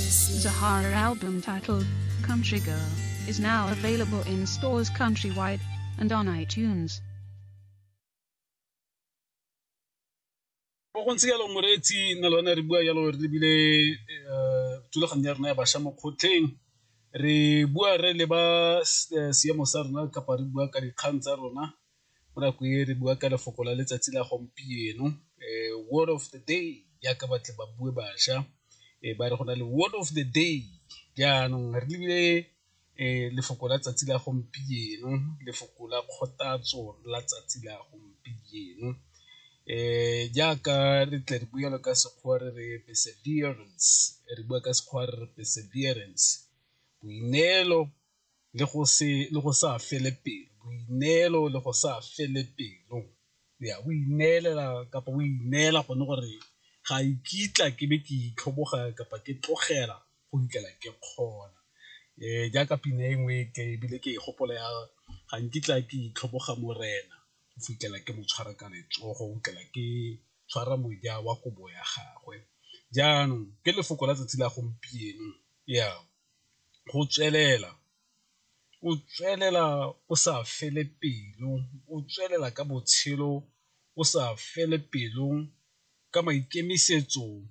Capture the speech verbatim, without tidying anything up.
Zahara album titled Country Girl is now available in stores countrywide and on iTunes. Go ntse jalo moreetsi nna le wena re bua jalo re lebile thulaganyo ya rona ya bašwa mo kgotlheng re bua re leba seemo sa rona kapa re bua ka dikgang tsa rona mo nako e re bua ka lefoko la letsatsi la gompieno word of the day jaaka batle ba bue bašwa ba re go na le word of the day jaanong re lebile lefoko la tsatsi la gompieno, lefoko la kgothatso la tsatsi la gompieno jaaka re tle re bue jalo ka Sekgowa re re perseverance, re bua ka Sekgowa re re perseverance, boineelo le go se le go sa fele pelo, boineelo le go sa fele pelo ya o ineelela kapa o ineela gone gore ga nkitla ke be ke itlhoboga kapa ke tlogela go fitlhela ke kgona. Jaaka pina e nngwe ke ebile ke e gopola ya ga nkitla ke itlhoboga morena go fitlhela ke mo tshwara ka letsogo, go fitlhela ke tshwara moja wa kobo ya gagwe. Jaanong ke lefoko la tsatsi la gompieno ya go tswelela, o tswelela o sa fele pelo, o tswelela ka botshelo o sa fele pelo ka maikemisetso